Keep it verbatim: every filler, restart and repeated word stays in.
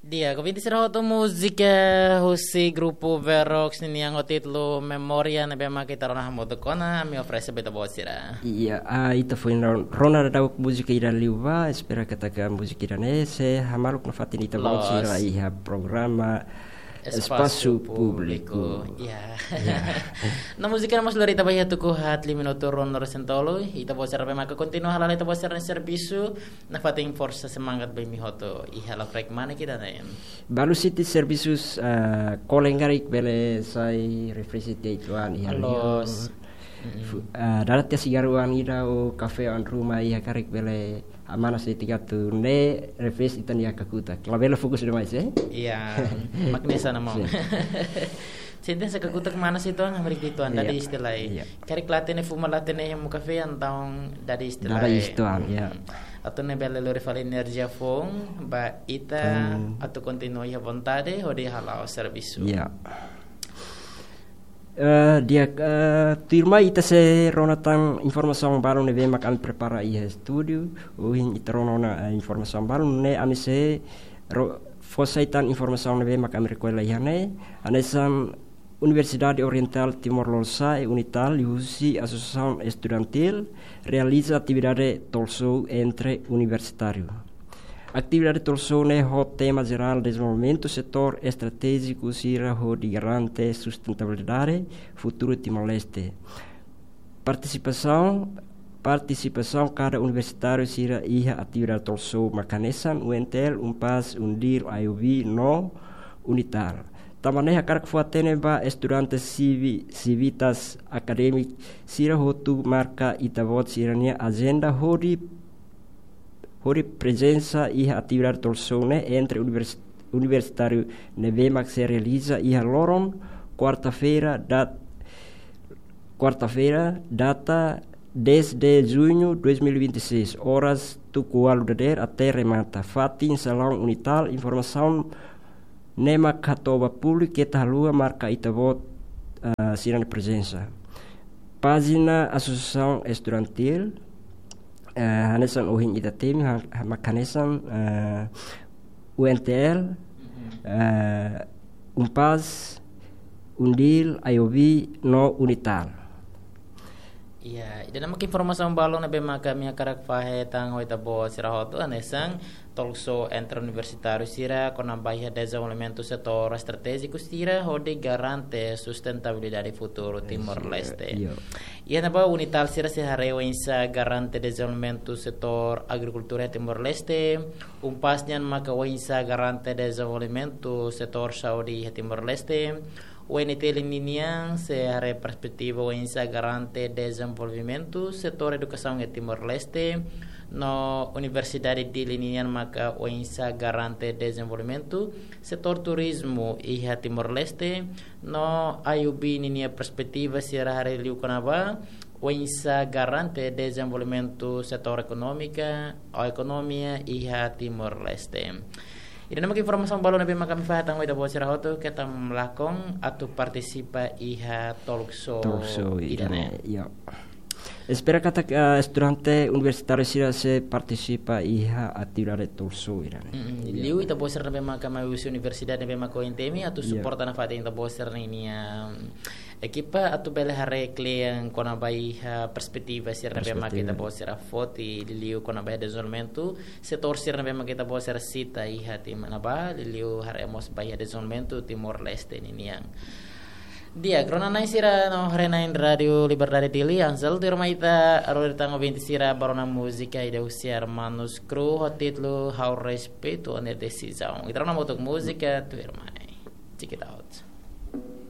Di'ak, ouvinte sira hotu, múzika husi grupu Verox ninian ho títulu Memória ne'ebé mak ita rona hamutuk ona, ami oferese ba ita-boot sira. Iya, ah, ita foin ron-, rona daudauk múzika ida liubá, espera katak múzika ida-ne'e sei hamaluk nafatin ita-boot sira iha programa Espasu Públiku. Iya. No múzika ne'e mós lori ita ba iha tuku haat lima minutu ruanulu-resin-tolu, ita-boot sira ne'ebé maka kontinua hala'o ita-boot sira-nia servisu, nafatin forsa semangat ba imi hotu iha lakrek manik ida-ne'e. Balu siti servisus, ah, kolen karik bele sai refreshment tiha uitoan iha liur. Fu-, ah, dala tiha sigarru ida ou kafé oan ruma iha karik bele, ah, manas de'it atu refresh ita-nia kakutak. Labele fokus demais, eh? Iya, mak hanesan ne'e mós. Sin. Sente hanesan kakutak manas uitoan, hamriik uitoan, dada iis tiha lai. Iya. Karik la hatene fuma, la hatene hemu kafé, entaun dada iis tiha lai. Dada iis uitoan, iya. Atu nune'e bele lori fali enerjia foun ba ita atu kontinua iha vontade hodi hala'o servisu. Iya. Eh, di'ak, eh, tuirmai ita sei rona tan informasaun balu ne'ebé mak ami prepara iha estúdiu. Ohin ita rona ona, eh, informasaun balu ne'e, ami sei ro-, fó sai tan informasaun ne'ebé mak ami rekolla iha ne'e. Hanesan Universidade Oriental Timor Lorosa'e, UNITAL, liuhusi Asosiasaun Estudantil, realiza atividade talk show entre universitáriu. Atividade talk show ne'e ho tema jerál dezenvolvimentu setór estratéjiku sira hodi garante sustentabilidade futuru Timor-Leste. Partisipasaun, partisipasaun kada universitáriu sira iha atividade talk show mak hanesan UNTL, UNPAZ, UNDIL, IOB no UNITAL. Tanba ne'e hakarak fó-hatene ba estudante sivi-, sivitas akadémiku sira hotu marka ita-boot sira-nia ajenda hodi hodi prezensa iha atividade talk show ne'e entre univers-, universitáriu ne'ebé mak sei realiza iha loron kuarta-feira dat-, kuarta-feira, data dez de junho dois mil e vinte e seis, oras tuku ualu dadeer até remata. Fatin salaun UNITAL, informasaun ne'e mak hato'o ba públiku keta haluha marka ita-boot, ah, sira-nia prezensa. Pájina Asosiasaun Estudantil, eh, hanesan ohin ita temi, ha-, ha-, mak hanesan, eh, UNTL, eh, UNPAZ, UNDIL, IOB, no UNITAL. Iya, ida-ne'e mak informasaun balu ne'ebé mak ami hakarak fahe tan ho ita-boot sira hotu, hanesan talk show entre universitáriu sira kona-ba iha dezenvolvimentu setór estratéjiku sira hodi garante sustentabilidade futuru Timor-Leste. Iya. Iha ne'ebá UNITAL sira sei haree oinsá garante dezenvolvimentu setór agrikultura Timor-Leste, UNPAZ nian maka oinsá garante dezenvolvimentu setór saúde iha Timor-Leste, UNTL ninian sei haree perspetiva oinsá garante dezenvolvimentu setór edukasaun iha Timor-Leste, no Universidade DILI ninian maka oinsá garante dezenvolvimentu setór turizmu iha Timor-Leste, no IOB ninia perspetiva sira haree liu kona-ba oinsá garante dezenvolvimentu setór ekonómika, ou ekonomia iha Timor-Leste. Ida-ne'e mak informasaun balu ne'ebé mak ami fahe tan ho ita-boot sira hotu, keta lakon atu partisipa iha talk show. Talk show ida-ne'e, ida-ne'e, iya. Espera katak, eh, estudante universitáriu sira sei partisipa iha atividade talk show ida-ne'e. Mm, iya. Liu ita-boot sira ne'ebé mak mai husi universidade ne'ebé mak ohin temi atu, iya, suporta nafatin ita-boot sira-nia, mm, ekipa atu bele haree kle'an kona-ba iha perspetiva sira ne'ebé mak, perspetiva, ita-boot sira foti, liuliu kona-ba iha dezenvolvimentu setór sira ne'ebé mak ita-boot sira sita iha tiha ne'ebá, liuliu haree mós ba iha dezenvolvimentu Timor-Leste ninian. Di'ak, rona-na'in sira no haree-na'in Rádiu Liberdade Dili, Ansel, tuirmai ita rona tan ouvinte sira ba rona múzika ida husi Hermanos Cruz ho títulu Ha'u Respeito Nia Desizaun. Ita rona hamutuk múzika, tuirmai. Check it out.